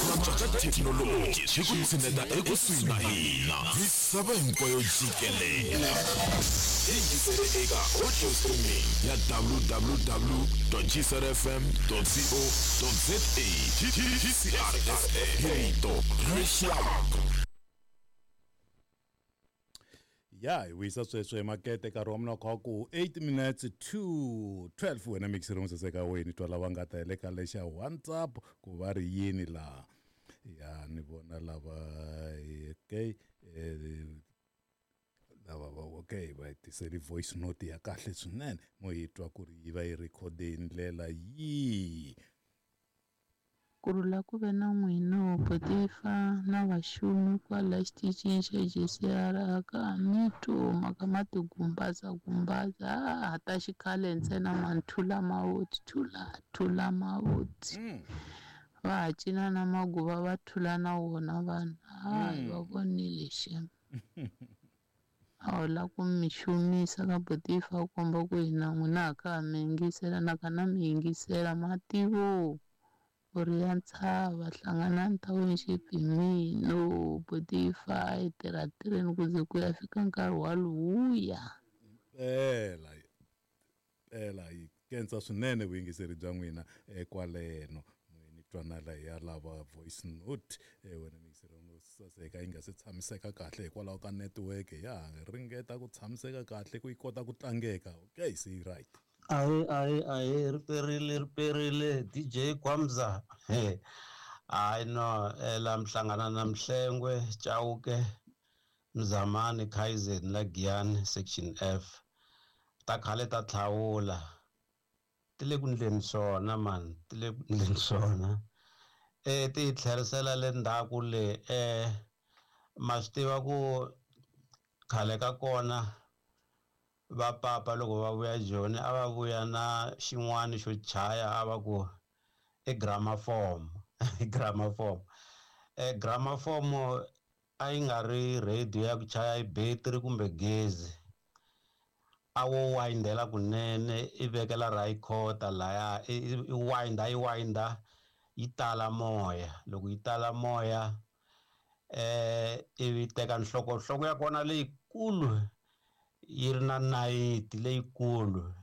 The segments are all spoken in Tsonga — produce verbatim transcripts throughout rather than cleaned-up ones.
Cinca ka thekinoloji swi ku tshineta ekusuhi na hina misava hinkwayo jikelele. Yingisele eka audio streaming ya w w w gcrfm co za. G C R F M, hi rito ra rixaka. Ya, hi wisa sweswo emakete nkarhi wa mina kha ku eight minutes to twelve. Wena mixeri mo saseka wena, twa lava nga ta le ka lexa WhatsApp ku va ri yini laha. Ya, ni vona lava, okay, eh, lava va, okay, va tiseli voice note ya kahle swinene, mo yi twa ku ri yi va yi rhikhode hi ndlela yihi. Kurhula ku ve na n'wina, Potifa na vaxumi kwala xitichini xa G C R. Aka mi twi mhaka ma tigumbaza gumbaza a ta xikhale ntsena mani, thula mavoti, thula thula mavoti, va ha cina na maguva, va thula na wona vanhu. Hayi, va vonile xem, a wu la ku mi xumisa ka Potifa, ku komba ku hina n'wina ha ka ha mi yingisela na ka na mi yingisela mativo ku ri ya ntshava hlanganani township hi mino Potifa, hi tirha tirheni ku ze ku ya fika nkarhi wa luwuya. Pela pela, hi khensa swinene vuyingiseri bya n'wina kwaleno. Ni twana ya lava voice note, wena muyingiseri wo saseka, yi nga se tshamiseka kahle hikwalaho ka network. Ya ha ringeta ku tshamiseka kahle ku yi kota ku tlangeka. Okay, se yi right. Ahe, ahe, ahe, ri perile, ri perile, D J Kwamza. Hayi no, la mihlangana na Mhlengwe Chauke Mzamani Kaizen la Giyani Section F. Ta khale ta tlhawula ti le ku ndleni swona man, ti le ku ndleni swona. eh ti hi tlherisela le ndzhaku le. eh ma swi tiva ku khale ka kona va papa loko va vuya Joni a va vuya na xin'wana xo chaya, a va ku i gramophone. Gramophone, eh gramophone a yi nga ri radio ya ku chaya hi battery kumbe gezi, a wo windela kunene, i vekela recorder laya, i winda, yi winda, yi tala moya. Loko yi tala moya, eh ivi teka nhloko, nhloko ya kona leyikulu yi ri na nayiti leyikulu.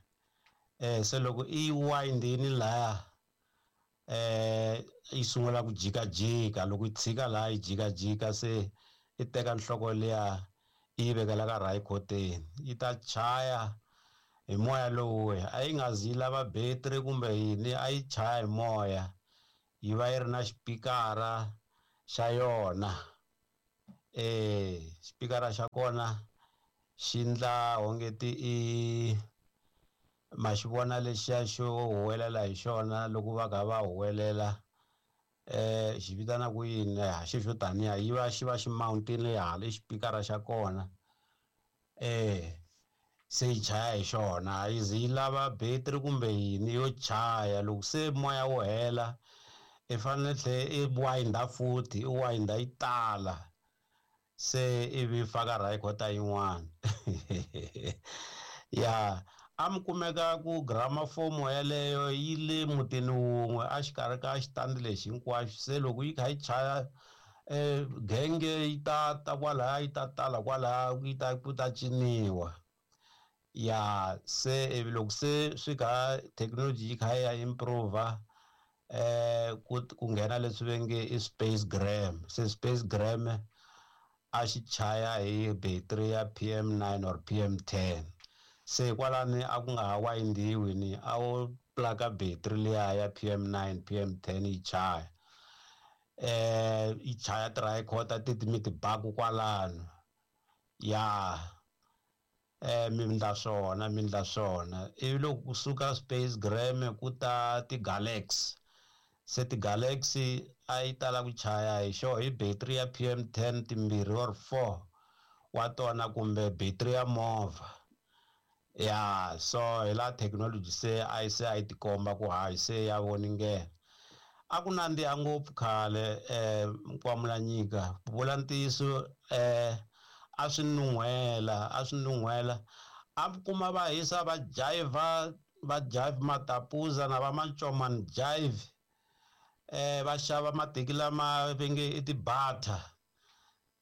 eh se loko i windini laya, eh yi sungula ku jikajika. Loko yi tshika laha yi jikajika, se i teka nhloko liya, i yi vekela ka rayikoteni, yi ta chaya hi moya lowuya. A yi nga zi yi lava battery kumbe yini, a yi chaya hi moya, yi va yi ri na xipikara xa yona. eh xipikara xa kona xi ndla ongeti i ma xi vona lexiya xo huwelela hi xona loko va kha va huwelela, eh xi vitana ku yini xi xo taniya, yi va xi va xi mountile hala xipikara xa kona. eh se yi chaya hi xona, a yi zi yi lava battery kumbe yini, yo chaya. Loko se moya wu hela, i fanele tlhe i winda futhi, i winda yi tala, se ivi faka recorder yin'wana ya. A mi kumeka ku gramophone yeleyo yi le mutini wun'we a xikarhi ka xitandi lexi hinkwaxo. Se loko yi kha yi chaya, eh genge yi ta ta kwalaya, yi ta tala kwalaya, yi ta ku ta ciniwa ya. Se ivi loko se swi kha thekinoloji yi kha yi ya improve, eh ku ku nghena leswi va nge i space gram. Se space gram a xi chaya hi battery ya P M nine or P M ten. Se kwalani a ku nga ha windiwi, ni a wo plaka battery liya ya P M nine, P M ten, yi chaya, eh yi chaya ti-recorder ti mi ti baku kwalano ya. eh mi ndla swona, mi ndla swona. Ivi loko kusuka space gram ku ta ti-Galaxy. Se ti-Galaxy a yi tala ku chaya hi xo hi battery ya P M ten timbirhi or four wa tona kumbe battery ya movha ya. So hi laha thekinoloji se a yi se a yi tikomba ku hayi, se ya voningela. A ku nandziha ngopfu khale. eh Nkwamulanyika, ku vula ntiyiso, eh a swi nun'hwela, a swi nun'hwela. A kuma va hisa, va jive, va jive matapuza na va mancomani jive. eh va xava mateki lama va nge i ti-butter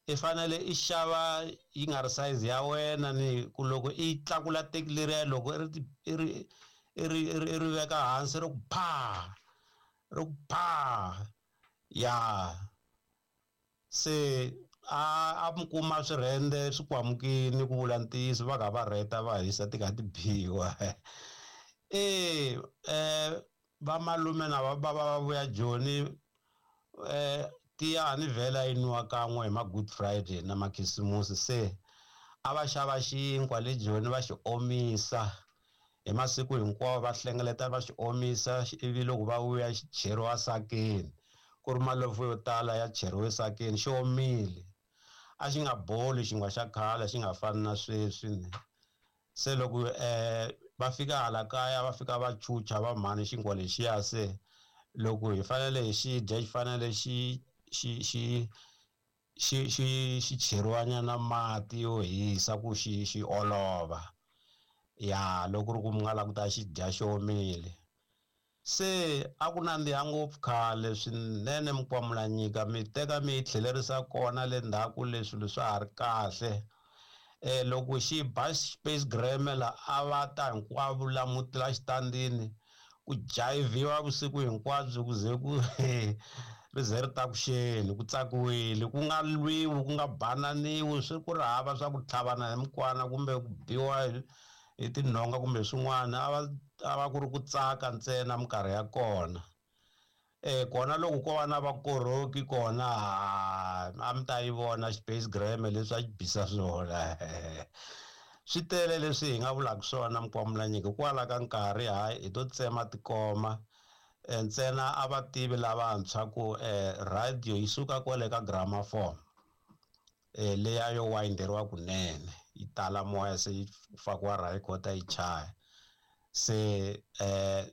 i fanele i xava yi nga ri size ya wena ni ku loko i tlakula teki leriya loko i ri i ri i ri i ri veka hansi ri ku pha ri ku pha ya se a a mi kuma swirhende swi kwamukini ku vula ntiyiso va kha va rheta va hisa ti kha ti biwa e eh vamalume na va bava va vuya Joni eh tiya ni vhela yi nwiwa kan'we hi ma Good Friday na makhisimusi se a va xava xinkwa le Joni va xi omisa hi masiku hinkwawo va hlengeleta va xi omisa ivi loko va vuya xi cheriwa sakeni ku ri malofo yo tala ya cheriwe sakeni xi omile a xi nga boli xinkwa xa khale xi nga fani na sweswi se loko eh va fika hala kaya va fika va chucha va mhani xinkwa lexiya se loko hi fanele hi xi dya xi fanele xi xi xi xi xi xi cheriwanyana mati yo hisa ku xi xi olova ya loko ri ku mi nga lava ku ta xi dya xi omile se a ku nandziha ngopfu khale swinene Mukwamulanyika mi teka mi yi tlhelerisa kona le ndzhaku leswi swilo swa ha ri kahle eh loko xi ba Space Grammar a va ta hinkwavo la muti la xitandini ku jayiviwa vusiku hinkwabyo ku ze ku ri ze ri ta ku xeni ku tsakiwile ku nga lwiwi ku nga bananiwi swi ku ri hava swa ku tlhavana hi mikwana kumbe ku biwa hi tinhonga kumbe swin'wana a va a va ku ri ku tsaka ntsena minkarhi ya kona eh kona loko ko va na vakorhoki kona a mi ta yi vona Space Grammar leswi a xi bisa swona swi tele leswi hi nga vulaka swona Mukwamulanyika hikwalaho ka nkarhi hayi hi to tsema tikoma ntsena a va tivi lavantshwa ku radio yi suka kwale ka gramophone eh leya yo winderiwa kunene yi tala moya se yi fakiwa record yi chaya se eh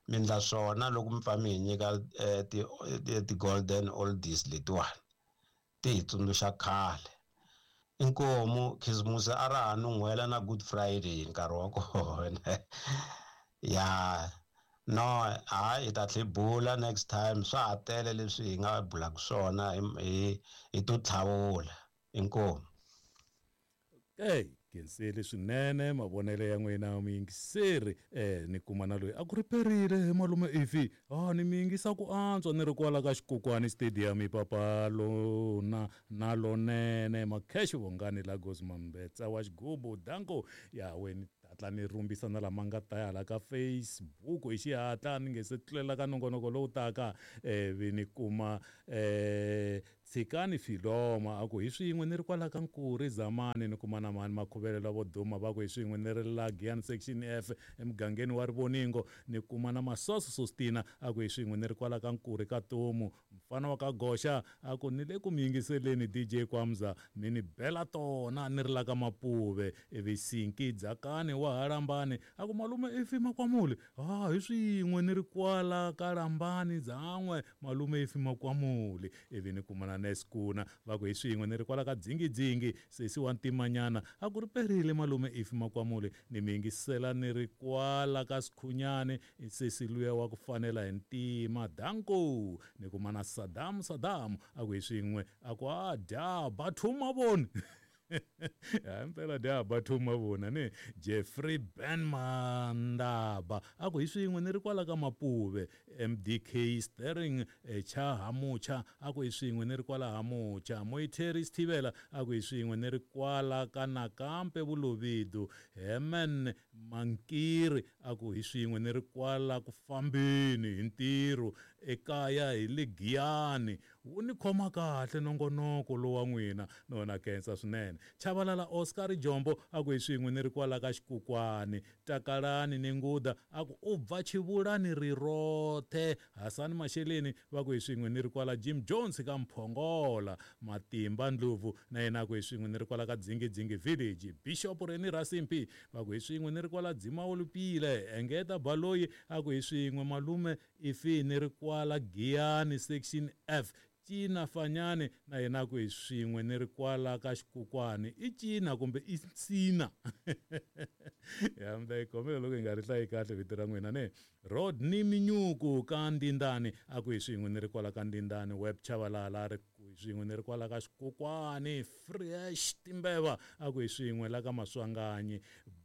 mi ndla swona loko mi pfa mi hi nyika ti ti golden oldies letiwani ti hi tsundzuxa khale inkomu khisimusi a ra ha nun'hwela na Good Friday nkarhi wa kona ya no hayi hi ta tlhe bula next time swa ha tele leswi hi nga bulaka swona hi hi to tlhavula inkomu hey khensile swinene mavonelo ya n'wina muyingiseri eh ni kuma na loyi a ku riperile malume ifi ah ni mi yingisa ku antswa ni ri kwala ka xikokwani stadium papa lona na lonene Makhexe Vongani Lagos Mambetsa wa xigubu danko ya wena hatla ni rumbisa na lama nga ta hala ka Facebook hi xihatla ni nge se tlulela ka nongonoko lowu taka eh vi ni kuma eh Tshikani Filoma a ku hi swin'we ni ri kwala ka Nkuri Zamani ni kuma na mani Makhuvelela vo duma va ku hi swin'we ni ri la Giyani section F emugangeni wa Rivoningo ni kuma na Masoso Sostina a ku hi swin'we ni ri kwala ka Nkuri ka Tomu mfana wa ka Goxa a ku ni le ku mi yingiseleni D J Kwamza mi ni bela tona ni ri la ka Mapuve ivi Sinki Dzakani wa Halambani a ku malume ifi Makwamuli ah hi swin'we ni ri kwala ka Lambani dzan'we malume ifi Makwamuli ivi ni kuma na Neskuna va ku hi swin'we ni ri kwala ka Dzingidzingi sesi wa Ntimanyana a ku ri perile malume ifi Makwamuli ni mi yingisela ni ri kwala ka Sikhunyani sesi luya wa ku fanela hi ntima danko ni kuma na Saddam Saddam a ku hi swin'we a ku a dya bathuma voni ya mpela dya bathuma vona ni Jeffrey Ben Mandaba a ku hi swin'we ni ri kwala ka Mapuve M D K Sterling cha Hamucha a ku hi swin'we ni ri kwala Hamucha Moiteri Sthivela a ku hi swin'we ni ri kwala ka Nakampe Vulovidu Hemen Mankiri a ku hi swin'we ni ri kwala ku fambeni hi ntirho ekaya hi le Giyani wu ni khoma kahle nongonoko lowa n'wina nona khensa swinene Chavalala Oscar Jombo a ku hi swin'we ni ri kwala ka Xikukwani Takalani ni Nguda a ku u bva Chivulani rirothe Hasani Masheleni va ku hi swin'we ni ri kwala Jim Jones ka Mphongola Matimba Ndlovu na yena a ku hi swin'we ni ri kwala ka Dzingidzingi Village Bishop Reni Rasimpi va ku hi swin'we ni ri kwala Dzimawulupile Engeta Baloyi a ku hi swin'we malume ifi ni ri kwala Giyani section F Cina Fanyane na yena ku hi swin'we ni ri kwala ka xikukwani i Cina kumbe i Tsina ya mi ta yi khomela loko hi nga ri hlayi kahle vito ra n'wina ne Rodney Minyuku ka Ndindani a ku hi swin'we ni ri kwala ka Ndindani Web Chavalala a ri ku hi swin'we ni ri kwala ka xikukwani Fresh Timbeva a ku hi swin'we la ka Maswanganyi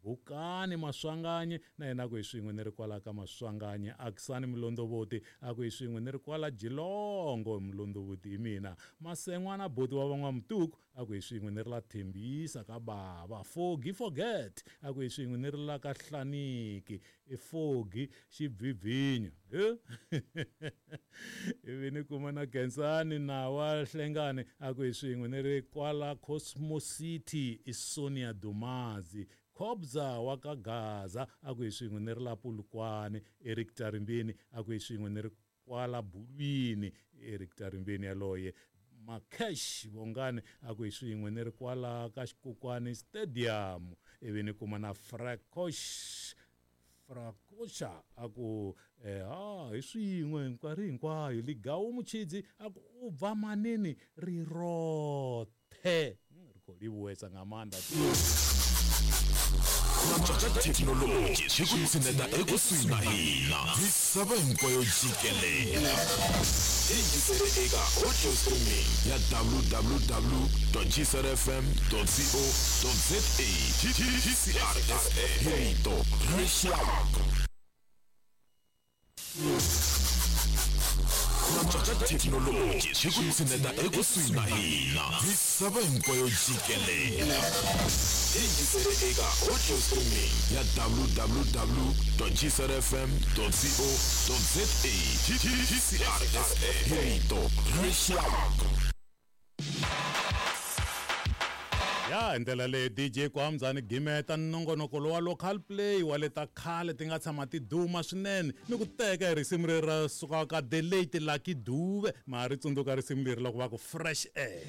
Bukani Maswanganyi na yena ku hi swin'we ni ri kwala ka Maswanganyi Akisani Mulondovoti a ku hi swin'we ni ri kwala Jilongo Mulondovoti hi mina Masengwana Boti wa van'wamutuku a ku hi swin'we ni ri la Thembisa ka bava Fogi Forget a ku hi swin'we ni ri la ka Hlaniki i Fogi Xibvibvinyo ivi ni kuma na Gensani na wa Hlengani a ku hi swin'we ni ri kwala Cosmo City i Sonia Dumazi Khobza wa ka Gaza a ku hi swin'we ni ri la Polokwane Eric Tarimbeni a ku hi swin'we ni ri kwala Bulwini Eric Tarimbeni yaloye Makesh Bongani a ku hi swin'we ni ri kwala ka Xikukwani Stadium ivi ni kuma na Frakosh Frakosha a ku eh ha hi swin'we nkarhi hinkwayo Ligawu Muchidzi a ku u bva manini ri rothe ri khou livhuwesa nga maanḓa thekinoloji swi ku tshineta ekusuhi na hina misava hinkwayo jikelele yingisele eka audio streaming ya w w w dot g c r f m dot co dot z a G C R F M hi rito rixaka thekinoloji swi ku tshineta ekusuhi na hina misava hinkwayo jikelele yingisele eka audio streaming ya w w w dot g c r f m dot co dot z a G C R F M hi rito rixaka ya hi ndlela leyi D J Kwamzani gimeta nongonoko lowa local play wa le ta khale ti nga tshama ti duma swinene ni ku teka hi risimu leri ra sukaka ka The Late Lucky Dube ma ri tsundzuka risimu leri loko va ku Fresh Air.